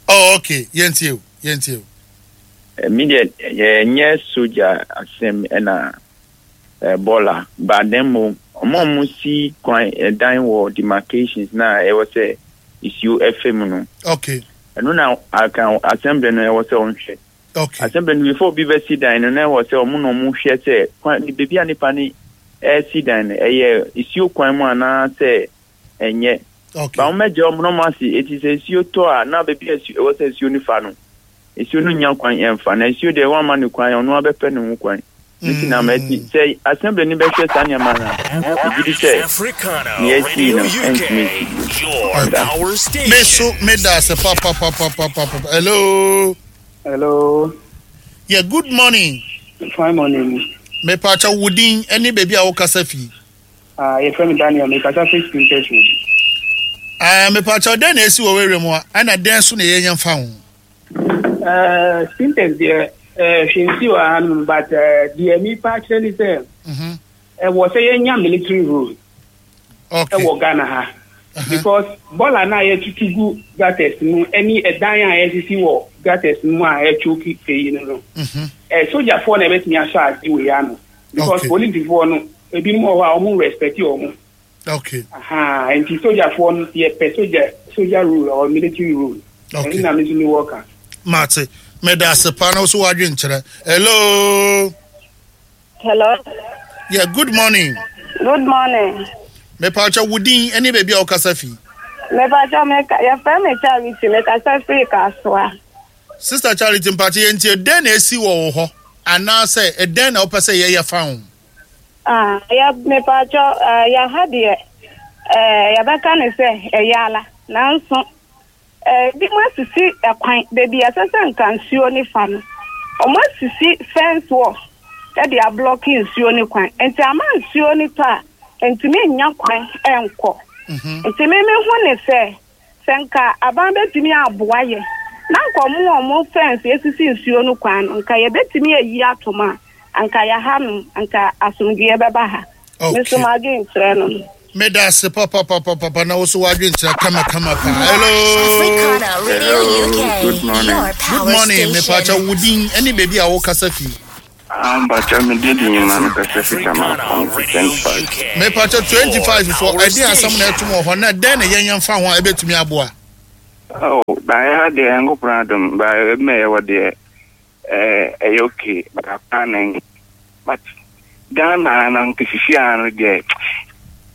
Oh, okay. Yɛntie o. Yɛntie o. Me deɛ yɛnyɛ soja asɛm ɛna bɔɔla ba na mmom ɔmo a ɔmo si kwan ɛdan wɔ demarcations na ɛwɔ sɛ nsuo ɛfɛ mu no. Okay. Ɛno na aka assembly no ɛwɔ sɛ ɔnhwɛ. Okay. Assembly no before obi bɛsi dan no na ɛwɔ sɛ ɔmo na ɔmo hwɛ sɛ kwan beebi a nipa ne ɛsi dan no ɛyɛ nsuo kwan mu anaasɛ ɛnyɛ. Okay. Ba wɔn bɛgye ɔmo na ɔmo ase eti sɛ nsuo tɔ a na beebi a ɛwɔ sɛ nsuo no fa no nsuo no nya kwan ɛnfa na nsuo deɛ wɔn ama no kwan ɔno abɛpɛ ne ho kwan. Nti na mati sɛ assembly no bɛhwɛ saa nneɛma no a, megye di sɛ nea asi no ɛntumi nsi bio. Me so meda ase papapapapapa. Hello. Hello. Yeah, good morning. Fine morning. Mepakyɛ wo din ne baabi a wokasa fi. Ah, yɛfrɛ me Daniel, mekasa fi Spinters Road. Ah, mepakyɛ dɛn na esi wɔ w'area mu a, ɛna dɛn so na yɛnyɛ mfa ho? Eh, Spinters deɛ, eh, hwee nsi wɔ ha nom, but eh, deɛ mepa akyerɛ ne sɛ, ɛwɔ sɛ yɛnya military rule ɛwɔ Ghana ha. Because bɔɔla no a yɛtutu gu gutters mu ne ɛdan a yɛsisi wɔ gutters no mu a ɛchoke eyi no no, eh, sogyafoɔ na ɛbɛtumi asɔ ade wei ano. Because polisifoɔ no, ebinom wɔ hɔ a wɔn respect wɔn. Okay. Aha, nti sogyafoɔ no yɛpɛ sogya soja rule or military rule. Okay. Ɛno na me nso mewɔ ka. Mate, meda ase paa na wo so w'adwen kyerɛ. Hello. Hello. Yeah, good morning. Good morning. Mepakyɛ wo din ne baabi a wokasa fi. Mepakyɛ meka yɛfrɛ me Charity mekasa firi Kasoa. Sister Charity mpakyɛ yɛntie dɛn na esi wɔ wo hɔ anaasɛ ɛdɛn na wopɛ sɛ yɛyɛ fa ho? Ah, yɛ mepakyɛ uh, yɛha deɛ uh, yɛbɛka ne sɛ ɛyɛ ala nanso Ebinom asisi kwan, baabi a ɛsɛ sɛ nka nsuo no fa no, wɔasisi fence wall de ablɔke nsuo no kwan. Nti ama nsuo no tɔ a, ɛntumi nnya kwan nkɔ. Nti me mehu ne sɛ, sɛ nka aban bɛtumi aboa yɛn na nka wɔn a wɔn fence asisi nsuo no kwan no, nka yɛbɛtumi ayi atom a, anka yɛaha no, anka asomdwoeɛ bɛba ha. Me nso m'adwenkyerɛ no no. Meda ase papapapapa na woso w'adwenkyerɛ kama kama paa. Hello. Africana Radio U K. Good morning. Your Good power morning. station. Mepakyɛ wo din ne baabi a wokasa fi. Mpakyɛ me din de Nyima mekasa fi Tama twenty five. Mepakyɛ twenty five fo ɛde asɛm na ɛtom wɔ hɔ na dɛn na yɛnyɛ mfa ho a ɛbɛtumi aboa? Oh, baayɛ ha deɛ Nyankopɔn adom baayɛ ɛbɛma yɛwɔ deɛ ɛyɛ okay baakwa na but Ghana na nkesisi ano deɛ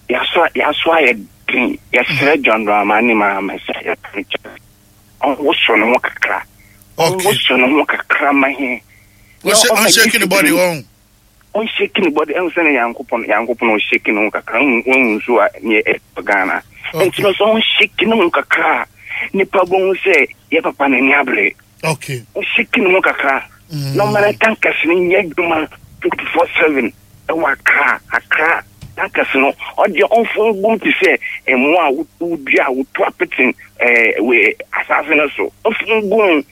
yaso yaso ayɛ den yɛsrɛ John Dramani Mahama sɛ yɛpɛ ɔnwoso ne ho kakra ɔnwoso ne ho kakra ma he ɔnhyɛki ne body wɔn ɔnhyɛki ne body ɛhu sɛ ne Nyankopɔn Nyankopɔn ɔnhyɛki ne ho kakra wɔn nso a ne ɛwɔ Ghana nti no sɛ ɔnhyɛki ne ho kakra a nipa bɛhu sɛ yɛ papa n'ani abere. Okay. Ɔhyɛki ne ho kakra na ɔma ne tankers no nyɛ adwuma twenty four seven ɛwɔ Accra Accra tankers no ɔdeɛ ɔmfo ngum te sɛ mmoa a wodua a wotu apete ɛɛ wɔ asase no so ɔmfo ngum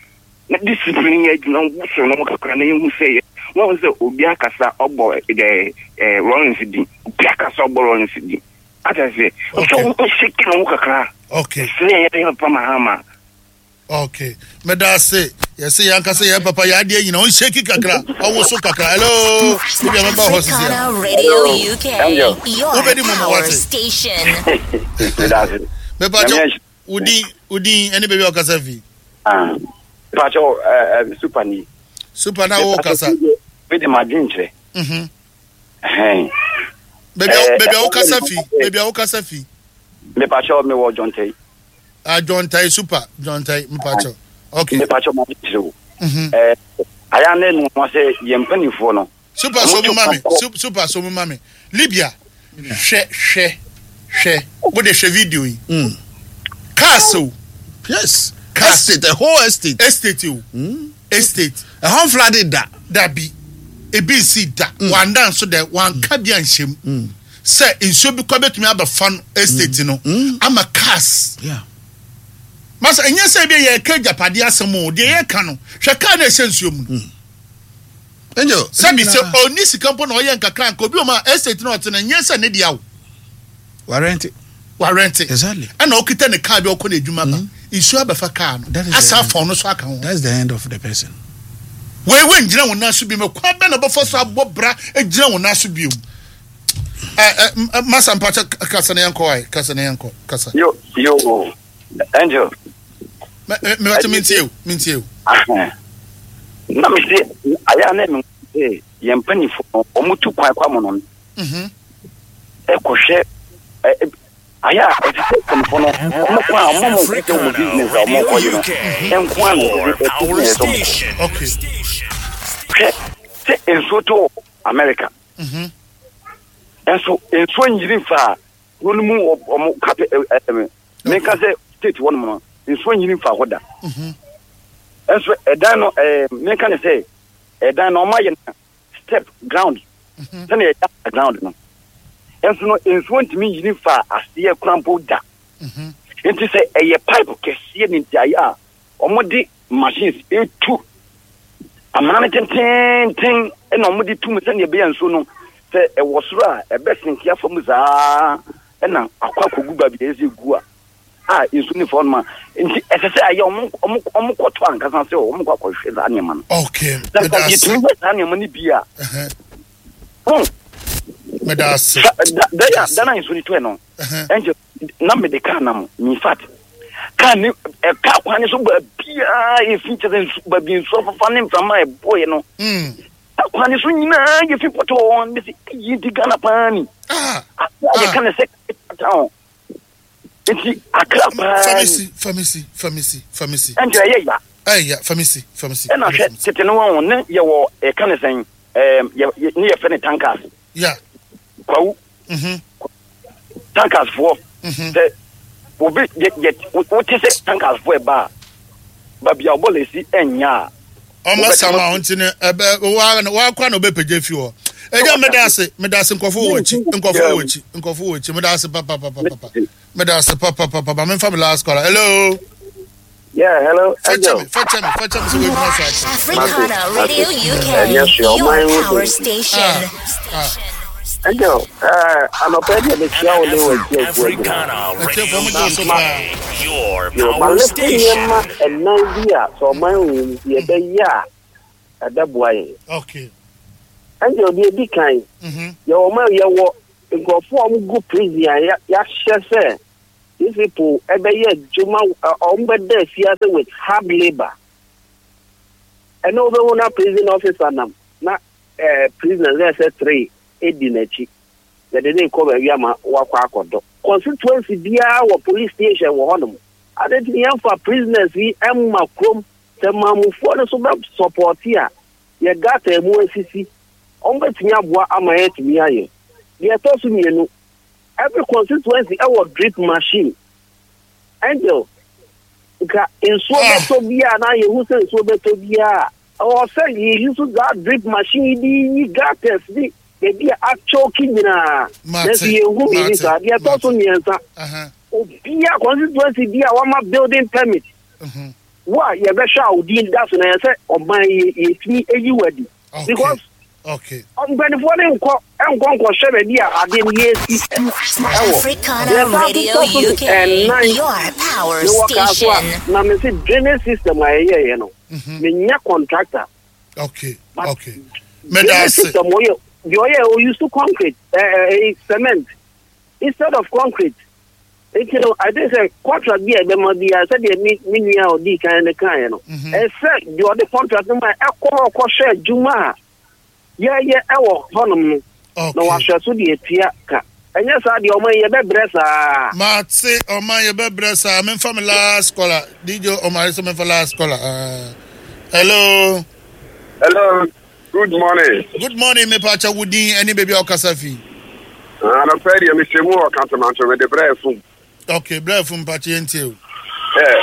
na discipline nyɛ adwuma woso no ho kakra na yɛhu sɛ yɛ wɔn sɛ obi akasa ɔbɔ ɛɛ ɛɛ Lawrence din obi akasa ɔbɔ Lawrence din ata sɛ ɔsɛ ɔhyɛki ne ho kakra. Okay. Sɛ yɛ yɛ papa Mahama. Okay. Meda ase. Yɛsɛ yɛn ankasa yɛn papa yɛ adeɛ nyina ɔnhyɛki kakra ɔwoso kakra. Hello. Ebi a mɛba hɔ sisi a. Radio U K. Your Wobɛdi mu ma power wate. station. Meda ase. Mepakyɛ wodin wodin ɛne baabi a ɔkasa fi. Ah. Mepakyɛ eh super ni. Super na wo kasa. Me de ma dwen kyerɛ. Mhm. Eh. Baabi a baabi a wokasa fi. Baabi a wokasa fi. Mepakyɛ me wɔ Jontai. Ah, Jontai super, Jontai mepakyɛ. Okay. Mepakyɛ ma dwen kyerɛ wo. Mhm. Eh aya ne no ho sɛ yɛn mpanimfoɔ no. Super so mu ma me. Super so mu ma me. Libya. Hwɛ hwɛ hwɛ. Wo de hwɛ video yi. Mm. Cars o. Yes. Cars. Estate, the whole estate. Estate o. Mm. Estate. Ɛhɔ flooded da. Dabi. Ebi nsi da. Mm. Wanda nso dɛ wanka bi anhyɛm. Mm. Sɛ nsuo bi kɔ betumi abɛfa no estate no Mm. ama cars. Yeah. Masa ɛnyɛ sɛ ebi yɛ ka agyapadeɛ asɛm o deɛ yɛka no hwɛ car na ɛhyɛ nsuo mu no. Angel. Sɛbi sɛ ɔni sika mpo na ɔyɛ nkakra nka obi ɔma estate na ɔte no nyɛ sɛ ne deɛ o. Warranty. Warranty. Exactly. Ɛna ɔkita ne car bi ɔkɔ n'adwuma ba nsuo abɛfa car no asa afɔn no so aka ho. That's the end of the person. Wei wei ngyina wɔn nan so bi mu kwan bɛ na ɔbɛfa so abɔ bra gyina wɔn nan so bi mu. Ɛ ɛ masa mpakyɛ kasa na yɛn kɔ ayi kasa na yɛn kɔ kasa. Yo yo Angel. Mɛ mɛ mɛ mi ntie o mi ntie o. Na mi se ayɛ na mi se yɛn mpanyinfo no wɔn tu kwan kɔ amono no. Ɛkɔhwɛ ɛ ayɛ a ɛsɛ sɛ mpanyinfo no wɔn kɔ a wɔn mo nkɔhwɛ wɔn business a wɔn kɔ yi no nko a na ɛsɛ business wɔn kɔ. Okay. Hwɛ sɛ nsuo tɔ America. Ɛnso nsuo nyiri nfa kuro no mu ɔmo kapɛ ɛɛ menka sɛ state hɔ nom no nsuo nyiri nfa hɔ da. Ɛnso ɛdan no ɛɛ menka ne sɛ ɛdan no ɔmo ayɛ no step ground sɛnea ɛyɛ ground no. Ɛnso no nsuo ntumi nyiri nfa aseɛ kora mpo da. Nti sɛ ɛyɛ pipe kɛseɛ ne nti ayɛ a ɔmo de machines etu amena no tententen ɛna ɔmo de tum sɛnea ɛbɛyɛ nsuo no sɛ ɛwɔ soro a ɛbɛsenke afa mu saa ɛna akɔ akɔgu baabi a ɛsɛ gu a a nsuo ne fa hɔ nom a nti ɛsɛ sɛ ayɛ ɔmo ɔmo ɔmo kɔtɔ ankasa sɛ ɔmo kɔ akɔhwɛ saa nneɛma no. Okay. Na nka yɛtumi hwɛ saa nneɛma no bi a. Wɔn. Meda ase. Da da ya da na nsuo no tɔɛ no. Ɛnkyɛ na mede kaa nam in fact kaa ne ɛkaa kwan ne so baabiaa yɛfi kyɛ sɛ nsu baabi nsuo afafa ne mframa a ɛbɔeɛ no. Kaa kwan ne so nyinaa yɛfi pɔtɔɔ ne sɛ eyi nti Ghana paa ni. Ase a yɛka ne sɛ town nti Accra paa ni. Famisi famisi famisi famisi. Ɛnkyɛ ɛyɛ ya. Ɛyɛ famisi famisi. Ɛna hwɛ tete no wɔn ne yɛwɔ ɛka ne sɛn ɛɛm yɛ ne yɛfɛ ne tankers. Yeah. Kwawu. Mhm. Tankers foɔ. Sɛ obi yɛ yɛ wote sɛ tankers foɔ ɛba a baabi a ɔbɔ lesi ɛnya a. Ɔmo sama ɔnti ne ɛbɛ wa wakɔ na ɔbɛpagya fi hɔ. Ɛgya meda ase meda ase nkɔfo wɔ akyi nkɔfo wɔ akyi nkɔfo wɔ akyi meda ase papapapapa meda ase papapapa memfa me last caller. Hello. Yeah, hello. Fɛkyɛ me fɛkyɛ me fɛkyɛ me sɛ wɔadwuma so akyɛ. Africana Radio U K, your power station. Angel, eh, anɔpɛ deɛ mekyia wo ne w'atiefoɔ nyinaa. Atiefoɔ mo gye so paa. Yo, malete nneɛma ɛnan bi a sɛ ɔman wɔ mu yɛbɛyɛ a ɛbɛboa yɛn. Okay. Angel, deɛ ɛdi kan, yɛwɔ ɔman yɛwɔ nkurɔfoɔ a wɔgu prison a yɛahyɛ sɛ these people ɛbɛyɛ adwuma wɔn bɛda afiase with hard labour. Ɛna wobɛhu na prison officer nam na eh, prisoners na ɛsɛ three edi n'akyi. Yɛde ne kɔ baabi ama wakɔ akɔdɔ. Constituency biara wɔ police station wɔ hɔnom. Ade nti yɛmfa prisoners yi mma kurom sɛ maamufoɔ no so bɛ support a yɛ gata mu asisi. Wɔn bɛtumi aboa ama yɛatumi ayɛ. Deɛ ɛtɔ so mmienu, every constituency ɛwɔ drip machine. Angel, nka nsuo bɛtɔ biara na yɛhu sɛ nsuo bɛtɔ biara ɛwɔ sɛ yɛyi so saa drip machine yi de yi gutters ne baabi a atwɔki nyinaa. Nanso yɛnhu biribi saa. Deɛ ɛtɔ so mmiɛnsa, obiara constituency bi a wama building permit wo a yɛbɛhwɛ a wo din da so na yɛ sɛ ɔman yi yɛtumi ayi wo adi. Because Okay. mpanimfoɔ ne nkɔ nkɔ nkɔhwɛ baabi a adeɛ no yɛsi ɛwɔ. Africana Deɛ ɛsan Radio so tɔ so U K, ɛnan your power mewɔ kaa so a station. na mese drainage system a yɛyɛeɛ no menya contractor. Okay. Okay. Drainage system wɔyɛ deɛ ɔyɛ o use concrete ɛɛ ɛɛ cement instead of concrete. Nti no I think sɛ contract bi a ɛbɛma biara sɛdeɛ me me nua a ɔdii kan no kaeɛ no ɛsɛ deɛ ɔde contract no ma ɛkɔ hɔ kɔhwɛ adwuma a yɛyɛ ɛwɔ hɔnom no na wahwɛ so deɛ atua ka. Ɛnyɛ saa deɛ ɔman yɛbɛbrɛ saa. Mate ɔman yɛbɛbrɛ saa. Memfa me last caller. D J Omar sɛ memfa last caller. Uh, hello. Hello. Good morning. Good morning, me pacha wudin any baby okasa fi. Anɔpɛ deɛ mehyɛ mu wɔ Kantamanto mede brɛ fum. Okay, brɛ fum pacha yɛntie o. Eh.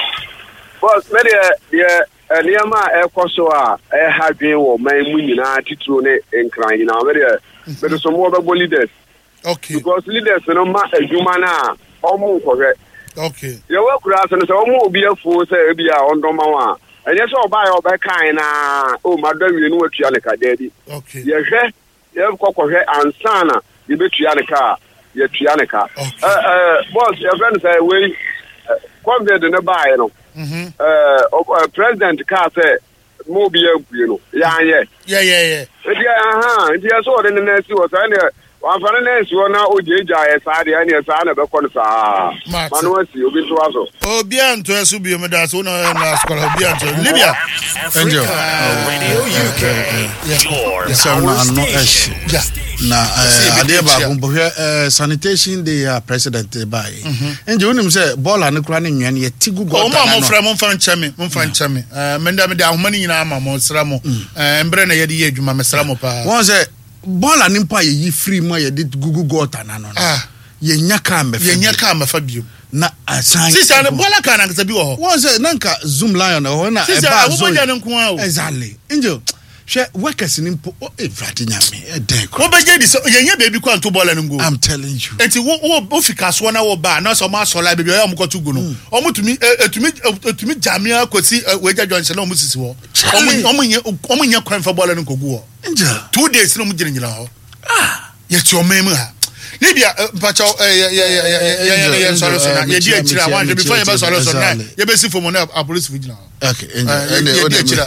Boss, me deɛ deɛ nneɛma a ɛkɔ so a ɛha dwen wɔ man mu nyinaa titiro ne nkran nyinaa me deɛ mede so mo bɛbɔ leaders. Okay. Because leaders no ma adwuma no a ɔmo nkɔhwɛ. Okay. Yɛwɔ akura ase no sɛ ɔmo obi afuo sɛ ebi a ɔndɔma wɔn a ɛnyɛ sɛ ɔbaa yɛ ɔbɛkan na o ma dɔ wie no watua ne ka daabi. Okay. Yɛhwɛ yɛkɔ kɔhwɛ ansa na yɛbɛtua ne ka a yɛtua ne ka. Okay. Eh, eh, boss, yɛfrɛ no sɛ wei COVID ne baeɛ no. Eh, president kaa sɛ mo obi ampue no yɛanyɛ. Yeah, yeah, yeah. Nti aha, nti yɛ sɛ ɔde ne nan si hɔ saa neɛ wamfa ne nan si hɔ na ogyagya yɛ saa deɛ ɛneɛ saa na ɛbɛkɔ no saa. Ma no asi obi ntoa so. Obi antoa so bio meda so na ɔyɛ na asukɔla obi antoa. Libya. Angel. Radio U K. Your Nsɛm no power ano station. ɛhye. Na adeɛ baako mpo hwɛ sanitation day a president baeɛ. Angel wonim sɛ bɔɔla no kora ne nnua no yɛte gu gɔta Ɔmo a no ano. mofrɛ momfa nkyɛ me momfa nkyɛ me. Eh, menda mede ahoma no nyinaa ama mo sra mo. Eh, mbrɛ na yɛde yɛ adwuma mesra mo paa. Wɔn sɛ Bɔɔla ne mpo a yɛyi firi mu a yɛde gugu gɔɔta n'ano no, yɛnya kaa mbɛfa. Yɛnya kaa mbɛfa bio. Na asan. Sisi ano bɔɔla kaa nankasa bi wɔ hɔ. Wɔn sɛ na nka Zoom Lion ɛwɔ hɔ na Sisi ɛbaa awobɔgya no nko ara o. Exactly. Angel, hwɛ workers ni mpo, o Ewurade Nyame, ɛdɛn kora. Wobɛgye di sɛ yɛnyɛ baabi kɔ anto bɔɔla no ngu. I'm telling you. Eti wo wo wo fi kasoɔ na wo ba na sɛ ɔmo asɔ la baabi a ɔyɛ ɔmo kɔto gu no, ɔmo tumi etumi etumi gyamea kɔsi wagya junction na ɔmo sisi hɔ. Ɔmo ɔmo nyɛ ɔmo nyɛ kwan fa bɔɔla no nkɔgu hɔ. Two days na ɔmo gyinagyina hɔ. Yɛte ɔman mu ha. Libya mpakyɛw yɛ yɛ yɛ yɛ yɛ yɛ nsɔre so na yɛdi akyire a wanhwɛ before yɛbɛ sɔre so na yɛbɛsi fam na apolisi gyina hɔ. Okay, ɛnde yɛdi akyire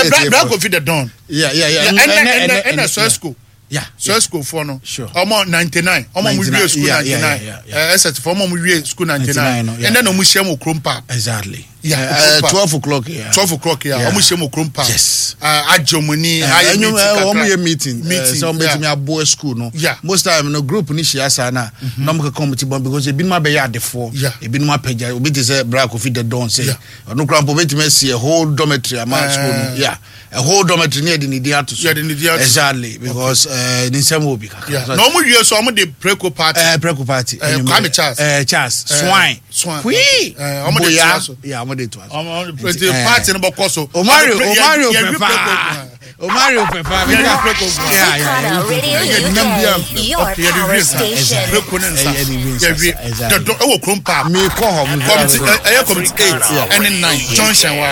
a bra bra kofi the dawn. Yeah, yeah, yeah. Ɛnɛ ɛnɛ ɛnɛ sɔɛsco. Yeah. Sɔɛsco foɔ no. Ɔmo ninety nine. Ɔmo mo wie school ninety nine. Ɛsɛt foɔ ɔmo mo wie school ninety nine. Ɛnɛ na ɔmo hyia mu kurom park. Exactly. Yeah, uh, twelve o'clock. Yeah. Twelve o'clock. Yeah. Ɔmo hyia mu kurom park. Yes. Agye ɔmo ni. Ayɛ meeting kakra. Ɔmo yɛ meeting. Meeting. Sɛ ɔmo betumi aboa school no. Yeah. Most time no group ni hyia saa na. Na ɔmo keka ɔmo ti bɔn because ebinom abɛyɛ adefoɔ. Yeah. Ebinom apɛgya obi te sɛ Bra Kofi the Don sɛ. Yeah. Ɔno kura mpo obetumi asi a whole dormitory ama school no. Yeah. A whole dormitory ni yɛde ne din ato so. Yɛde ne din ato so. Exactly because ne nsɛm wɔ bi kakra. Na ɔmo wie so ɔmo de preko party. Ɛɛ preko party. Ɛɛ Kwame Charles. Ɛɛ Charles Swine. Swine. Kwii. Ɔmo de toa so. Yeah, ɔmo de toa so. Ɔmo de party no bɔ kɔ so. Omario Omario pɛpa. Omario pɛpa. Yɛde preko. Yeah yeah. Yɛde nam bi am. Okay, yɛde wie nsa. Preko ne nsa. Yɛwie. Dɔdɔ ɛwɔ kurom park. Mi kɔ hɔ. Committee ɛyɛ committee eight ɛne nine junction wa.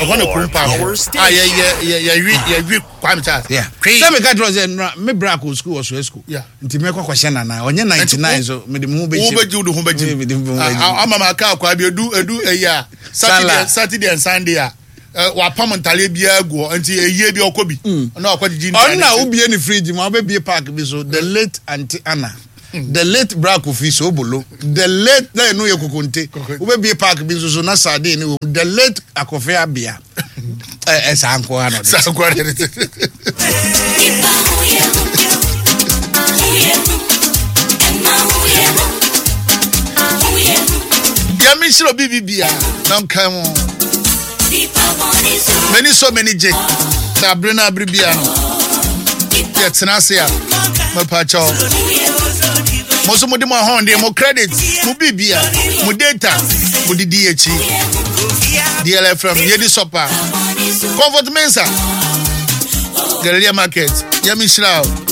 Ɛhɔ na kurom park. A yɛ yɛ yɛ yɛwie yɛwie Kwame Charles. Yeah. Sɛ mi ka kyerɛ sɛ nura mi bra kɔ school wɔ so school. Yeah. Nti mi kɔ kɔhyɛ nana ɔnyɛ ninety nine so mi de mi ho bɛ gye. Wo bɛ gye wo de ho bɛ gye. Mi de mi ho bɛ gye. Ama ma kaa kwa bi edu edu eyi a Saturday Saturday and Sunday a wapam ntaleɛ biara gu hɔ nti eyie bi ɔkɔ bi. Ɔno akɔ gyigyi ntaleɛ. Ɔno na wobie ne fridge mu abɛbie park bi so the late Aunty Anna. The late Bra Kofi Sobolo, the late na ɛno yɛ kokonte. Wobɛbie park bi nso so na sardine ne wɔ mu. The late Akɔfe Abia. Ɛ ɛ saa nko ara na ɔde. Saa nko ara na ɔde. Yɛmi nhyira obi bi bia na nka mu. M'ani sɔ m'ani gye sɛ abere no abere bia no yɛtena ase a mepakyɛw mo nso mode mo ahoɔden mo credit mo biribia mo data mo didi akyi D L F M yɛdi sɔpa Comfort Mensa Galilea Market. Yɛmi nhyira o.